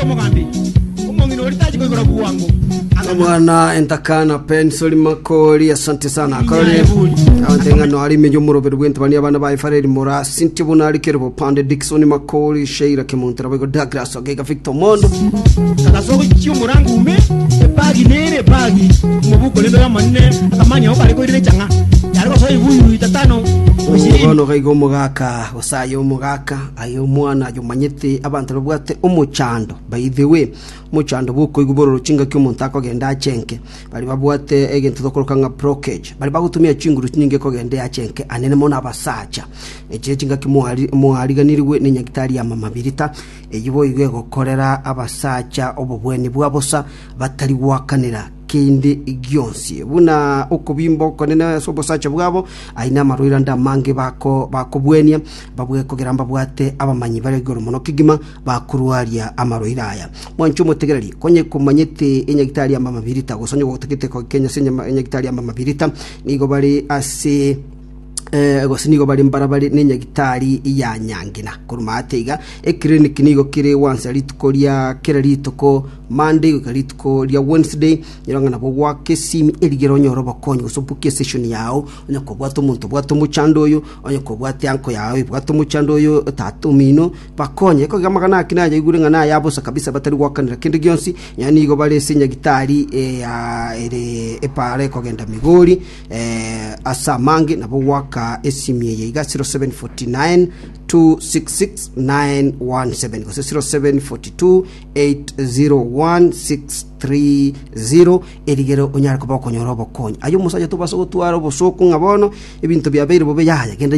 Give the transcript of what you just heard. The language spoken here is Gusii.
Omogambi, omong'ina oria tachi koigora bwango. Omwana entakana Pensori Makori, asante sana. Kore abante ng'ano ari imeyo omoroberi bw'entebani abana ba Efareri Mora Cynthia Bunari Kerubo Pande Dickson Makori Sheila Kemunto Raboigo Douglas Ogega Victor Mondo. Kagasoa gochia omorango ime, ebagi nere ebagi, omobuko rende oyomonene, akamanya oo kare koirera echang'a, yare gosoa ebibuyu itatano o ishirini. Bono gaiga omogaka gose aye omogaka aye omwana aye omanyete abanto babwate omochando by the way Omochando bw'okoigwa bororo chingaki omonto akogenda achenke, baria babwate egento tokoroka ng'a blockage, baria bagotumia chinguru chinyinge kogenda eachenke anene mono abasacha. Echi chingaki moari moariganirigwe ne nyagitari ya mama Birita, eyio boigo egokorera abasacha obobweni bwa bosa batari goakanera kende gionsi. Buna okobimba okonene ase obosacha bwabo, ayio namarwaire ande amange bako bakobwenia, babwe kogera mbabwate abamanyi bare igoro mono kegima, bakorwaria amarwaire aya. Mwanche omotegereri, konye komanyete enyagitari ya mama Birita, gose onye gotagete kogenya ase enyama- enyagitari ya mama Birita, nigo bare ase eh, gose nigo bare mbarabare nenyagitari ya Nyangina. Korwa maate iga, eclinic nigo kere gwansa rituko ria kera rituko Monday goika rituko ria Wednesday, nyora ng'a nabo gwaka esimi erigere onyore obokonyi gose obukie esession yao, onye kobwate omonto obwate omochando oyo, onye kobwate uncle yao ebwate omochando oyo, tata omino, Bakonye, ekogera amang'ana ake nayaigure ng'a naya bosa kabisa batari goakanera kende gionsi, nonya nigo bare ase nyagitari eya ere epaara ekogenda Migori, ase amange nabo goaka esimi eye iga 0749 266 917 gose 0742 801 630 erigere onyare koba okonyora obokonyi. Aye omosacha tobasa gotwara obosooku ng'a bono ebinto biabeire bobe yaya genda.